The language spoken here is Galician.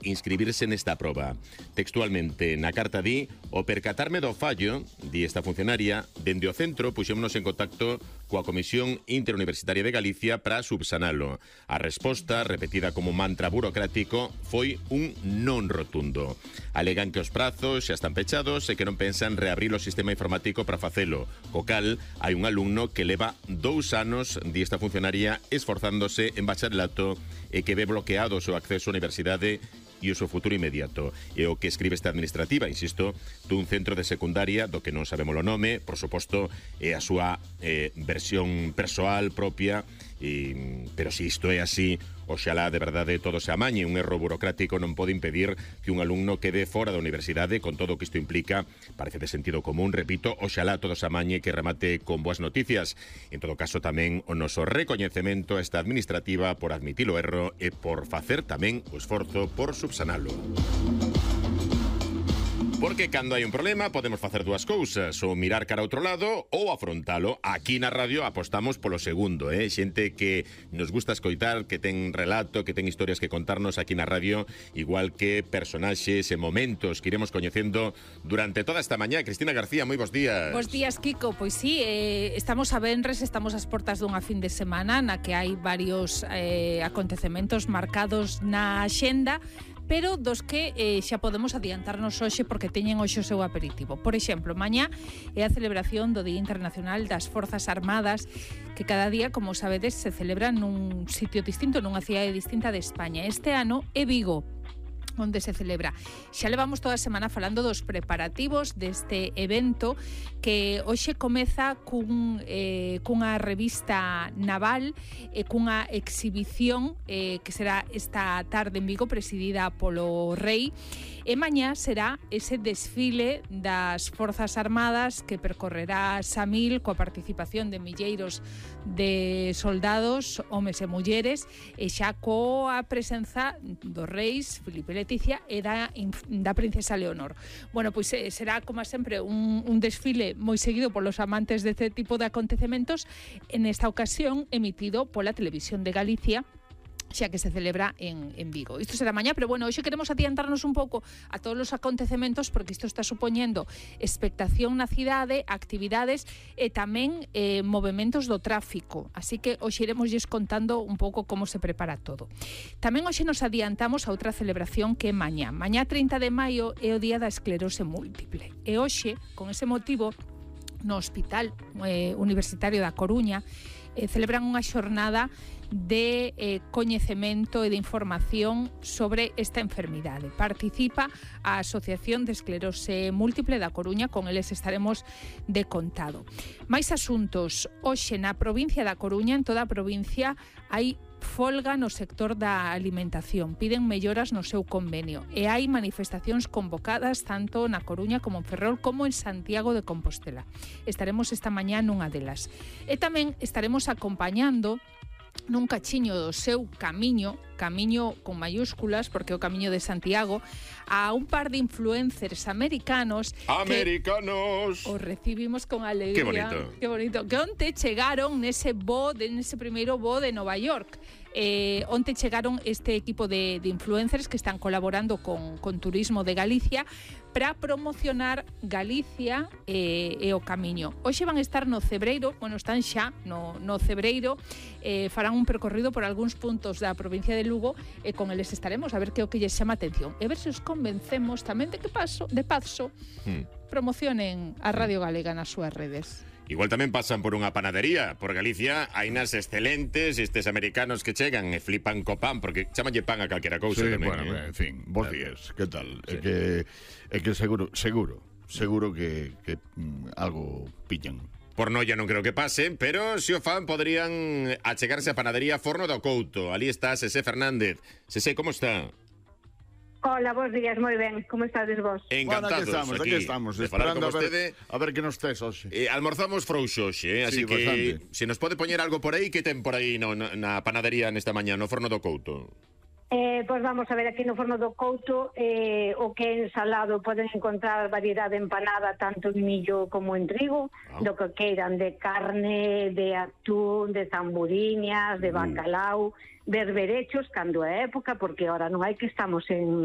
inscribirse nesta proba. Textualmente, na carta di: o percatarme do fallo, di esta funcionaria, dende o centro puxémonos en contacto coa Comisión Interuniversitaria de Galicia para subsanalo. A resposta, repetida como mantra burocrático, foi un non rotundo. Alegan que os prazos xa están pechados e que non pensan reabrir o sistema informático para facelo, co cal hai un alumno que leva 2 anos, di esta funcionaria, esforzándose en bacharelato e que ve bloqueado o seu acceso á universidade e o seu futuro inmediato. E o que escribe esta administrativa, insisto, dun centro de secundaria do que non sabemos o nome, por suposto, é a súa versión persoal propia, pero se isto é así, oxalá de verdade todo se amañe. Un erro burocrático non pode impedir que un alumno quede fora da universidade con todo o que isto implica. Parece de sentido común, repito, oxalá todo se amañe, que remate con boas noticias. En todo caso, tamén o noso recoñecemento a esta administrativa por admitir o erro e por facer tamén o esforzo por subsanalo. Porque cando hai un problema podemos facer dúas cousas, ou mirar cara a outro lado ou afrontalo. Aquí na radio apostamos polo segundo, xente que nos gusta escoitar, que ten relato, que ten historias que contarnos aquí na radio, igual que personaxes e momentos que iremos coñecendo durante toda esta mañá. Cristina García, moi bons días. Bos días, Kiko. Pois sí, estamos a venres, estamos ás portas dunha fin de semana na que hai varios acontecementos marcados na axenda, pero dos que xa podemos adiantarnos hoxe porque teñen hoxe o seu aperitivo. Por exemplo, mañá é a celebración do Día Internacional das Forzas Armadas, que cada día, como sabedes, se celebra nun sitio distinto, nunha cidade distinta de España. Este ano é Vigo onde se celebra. Xa levamos toda a semana falando dos preparativos deste evento que hoxe comeza cunha revista naval e cunha exhibición que será esta tarde en Vigo, presidida polo Rei. E mañá será ese desfile das Forzas Armadas que percorrerá Samil coa participación de milleiros de soldados, homes e mulleres, e xa coa presenza dos reis Filipe e Leticia e da princesa Leonor. Bueno, pois será, como sempre, un desfile moi seguido polos amantes deste tipo de acontecementos, en esta ocasión emitido pola Televisión de Galicia, xa que se celebra en Vigo. Isto será mañá, pero bueno, hoxe queremos adiantarnos un pouco a todos os acontecementos porque isto está supoñendo expectación na cidade, actividades e tamén movementos do tráfico. Así que hoxe iremosles contando un pouco como se prepara todo. Tamén hoxe nos adiantamos a outra celebración que é mañá. Mañá 30 de maio é o Día da Esclerose Múltiple. E hoxe, con ese motivo, no Hospital Universitario da Coruña celebran unha xornada de coñecemento e de información sobre esta enfermidade. Participa a Asociación de Esclerose Múltiple da Coruña, con eles estaremos de contado. Mais asuntos. Hoxe na provincia da Coruña, en toda a provincia, hai folga no sector da alimentación. Piden melloras no seu convenio e hai manifestacións convocadas tanto na Coruña como en Ferrol como en Santiago de Compostela. Estaremos esta mañá nunha delas. E tamén estaremos acompañando nun cachiño do seu camiño con mayúsculas, porque o camiño de Santiago, a un par de influencers americanos que os recibimos con alegría. Que bonito. Que onte chegaron nese primeiro voo de Nova York. Onte chegaron este equipo de influencers que están colaborando con Turismo de Galicia para promocionar Galicia e o camiño. Hoxe van estar no Cebreiro, están xa no Cebreiro, farán un percorrido por algúns puntos da provincia de Lugo e con eles estaremos a ver que o que lles chama atención e ver se os convencemos tamén de paso promocionen a Radio Galega nas súas redes. Igual tamén pasan por unha panadería. Por Galicia hai nas excelentes estes americanos que chegan e flipan co pan, porque chamanlle pan a calquera cousa. Sí, tamén, bueno, en fin, bons días, que tal? Sí. É que seguro que algo pillan. Por noia non creo que pasen, pero se o fan poderían achegarse a panadería Forno do Couto. Ali está Sesé Fernández. Sesé, como está? Hola, bons días, moi ben. Como estades vos? Encantados. Bueno, aquí estamos esperando a ver que nos tes hoxe. Almorzamos frouxo hoxe, así que bastante. Se nos pode poñer algo por aí, que ten por aí na panadería nesta mañá, no Forno do Couto? Pois vamos a ver, aquí no Forno do Couto o que é ensalado poden encontrar variedade empanada tanto en millo como en trigo, do que queiran, de carne, de atún, de zamburiñas, de bacalao, berberechos cando é época, porque ahora non hai que estamos en